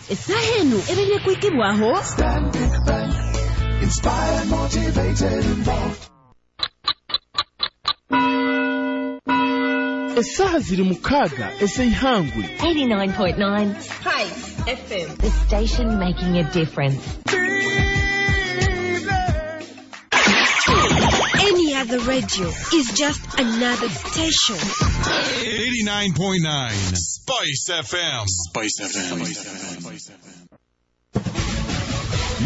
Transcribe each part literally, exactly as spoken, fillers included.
Essaaha eno ebaire kuikibwaho Stanbic Bank. Inspired, motivated, involved. Essaaha ziri mukaaga ez'eihangwe. eighty-nine point nine Spice F M. The station making a difference. Any other radio is just another station. eighty-nine point nine Spice F M. Spice F M. Spice F M.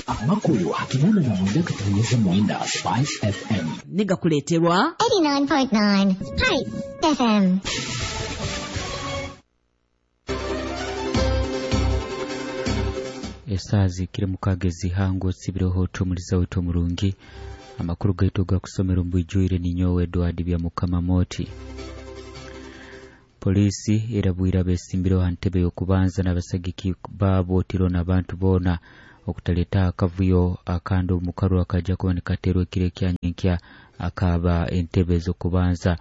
Amakuru hakinana na mwenda katonyeza mwenda Spice F M. Nigakuleterwa eighty-nine point nine Spice F M. Esazi kire mukagezi hango sibiroho tumuliza wetu murungi amakuru gaitu gakusomera mbwijwire ninyowe Edward bya Mukama Moti. Polisi erabwira besimbiro hantebe yokubanza n'abasagiki babo tiro n'abantu bona okutaleta akavuyo akando mukaru akaja kuba nikaterwe kire kyanyenkya akaba entebe zokubanza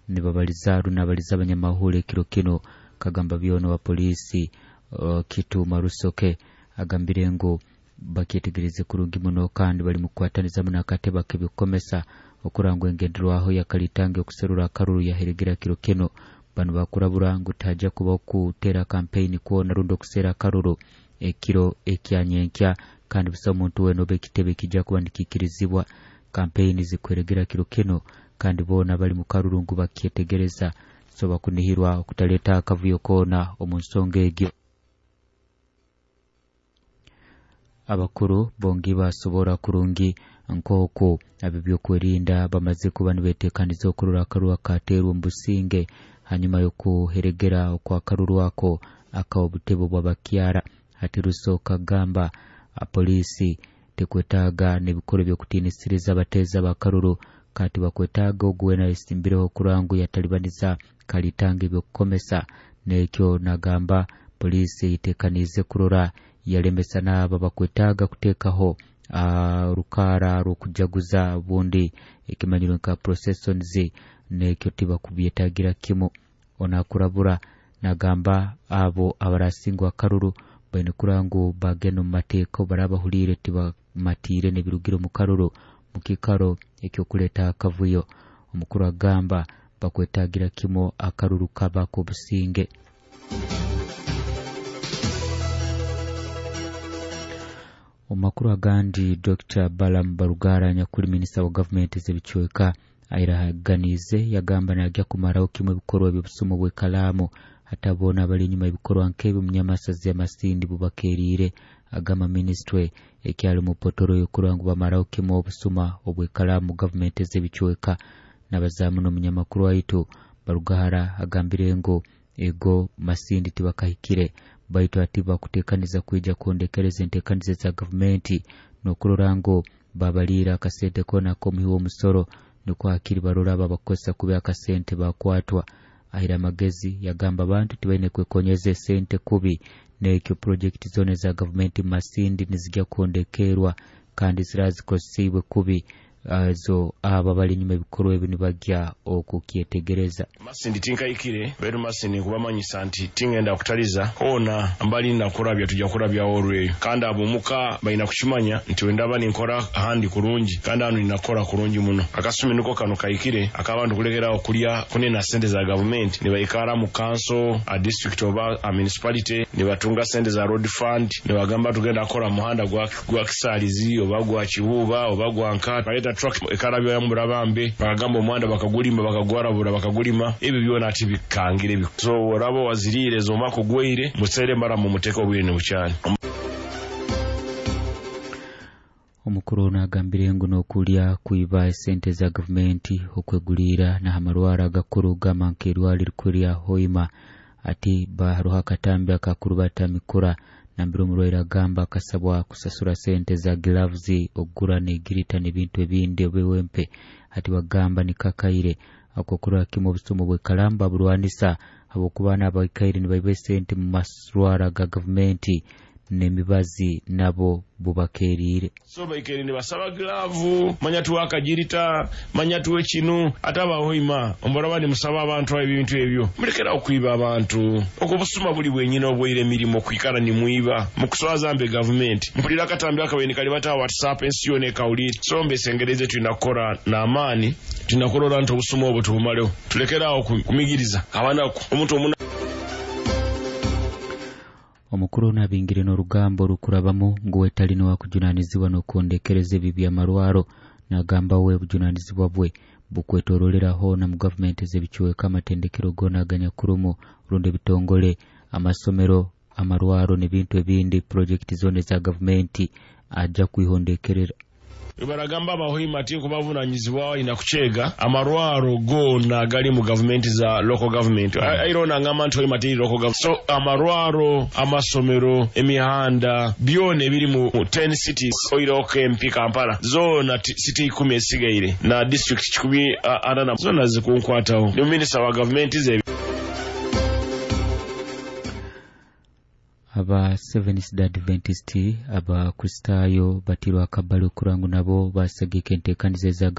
nibabaliza runabaliza abanyamahule kiro kino kagamba byono wa polisi uh, kitu marusoke agambire ngo bakyetegereze kurungi muno kandi bali mukwataniza muno akateba kebikomesa okurangwa engenderwaho yakalitange okuserura akaruru yaheregera kiro kino. Bano bakurabura ngu taja kuba okutera kampeyini kwona rundi okusera akaruru ekiro ekyanyenkya kandi busa omuntu wena oba ekitebe kijja kuba nikikirizibwa. Kampeyini zikweregera kiro kino kandi boona bali mu karuru ngu bakyetegereza so bakunihirwa okutaleta akavuyo koona omu nsonga egyo. Abakuru bongi basobora kurungi nk'oku ab'ebyokwerinda bamaze kuba nibeteekaniza okurora akaruru akateerwa omu businge hanyuma y'okuheregera okwakaruru ako ak'obutebo bw'abakyara. Hati Rusoka gamba polisi tekwetaaga n'ebikorwa by'okutiinisiriza abateeza bakaruru kati bakwetaaga oguwena esimbireho kurangu yatalibaniza kalitanga ebyokukomesa n'ekyo nagamba polisi itekanize kurora yalemesa n'aba bakwetaaga kuteekaho rukara rw'okujaguza bundi ekimanyiro nka processions n'ekyo tibakubyetaagira kimu. Onakurabura nagamba abo abarasingwa akaruru baine kurangu bagenda omu mateeka barabahuliire tibamatiire n'ebirugiro mu karuru mu kiikaro ekyokuleeta akavuyo. Omukuru agamba bakwetaagira kimu akaruru kaba k'obusinge. Omakuru agandi Doctor Balaam Barugara nyakuri minisita wa gavumenti z'ebichweka airaganize yagamba najya kumaraho kimwe ebikorwa eby'obusumu bw'ekalaamu hatabona abali enyuma ebikorwa nk'ebyo munyamasazi y'amasindi bubakeeriire. Agamba minisitule ekyali mu potoro y'okurangu bamaraho kimwe obusuma obw'ekalaamu gavumenti z'ebichweka. N'abazaamu n'omunyamakuru waitu Barugara agambire ngu ego Masindi tibakahikire baitu ati bakuteekaniza kwija kuondekereza enteekaniza za gavumenti n'okurora ngu babaliira akasente koona k'omuhi w'omusoro nukwo hakiri barora babakozesa kuba akasente bakwatwa. Ahira amagezi yagamba abantu tibaine kwekonyeza esente kubi n'ekyo projekiti zona za gavumenti Masindi nizijja kuondekerwa kandi zirazikosibwe kubi azo aba bali nyuma ebikorwa ebi nibajja okukyetegereza. Masindi tinkaikire beru Masindi kubamanyisa nti tingenda kutaliza ona mbali nakurabya tujja kurabya olweyo kandi abomuka balina kukimanya nti wendaba ninkora ahandi kurungi kandi hano ninakora kurungi muno. Akasumi niko kano kaikire akabantu kulegerawo kulya kunena sente za gavumenti nibaikara mu council a district oba a municipality nibatunga sente za road fund nibagamba tugenda kora muhanda gwa gwa Kisalizi oba gwa Kibuba oba gwa Nkata baleta truck ekarabyo ya murabambe bakagamba omwanda bakagulima bakagwarabura bakagulima ebyo byona ati bikangire bi so orabo wazirire zoma kugweire musere mara mu muteko bwine bucyane. Omukuru ono agambire ngu n'okulya kuiba esente za gavumenti okwegulira n'amarwara agakuru gamba nk'erwaliro lya Hoima ati baharuha akatambi akakurubata mikura nambira omurwaire agamba akasabwa kusasura sente za gloves ogura n'egirita n'ebintu ebindi obiwempe ati bagamba nikakaire akokurora kimwe obusumu bw'ekalamba burwanisa habwokuba n'abaikaire nibaiba esente mu maswara ga gavumenti N'emibazi nabo bubakeeriire. So baikere nibasaba glavu, manya tuwe akagirita, manya tuwe kinu. Ate abahoima ombaraba nimusaba abantu ebintu ebyo, mulekera okwiba abantu. Okwo busuma buli bwenyine obwaire emirimu okwikara nimwiba mukuswaza mbe gavumenti. Mpulira akatambi akaweni kali bata WhatsApp, ensi yona ekawulire. So mbesengereze, tulina kukora n'amaani, tulina kurora nti obusuma obwo tubumaleho, tulekerawo kumigiriza abanaku omuntu omuna. Omukuru ono abingire n'orugambo rukurabamu ngu wetalina wakujunanizibwa n'okwondekereza ebi by'amarwaro. Nagamba we bujunanizibwa bwe bukwetorolera hoona mu gavumenti ez'ebicweka, amatendekero goona aganyakurumu rundi ebitongole, amasomero, amarwaro n'ebintu ebindi, purojekiti zoona eza gavumenti ajja kwihondekerera. Baragamba abahoima ti kubavunanyizibwa ina kuchega amarwaro gona gali mu gavumenti za local government. Airona ngamba nti hoima tiri local government. So amarwaro, amasomero, emihanda byona ebiri mu ten cities oiroko M P Kampala zona city ikumi esigaire na district kikumi anana zona zikunkwataho. Ni minister wa gavumenti ze. Aba Seventh Day Adventist, Abakristaayo batirwa akabali okurangu nabo basagika enteekaniza eza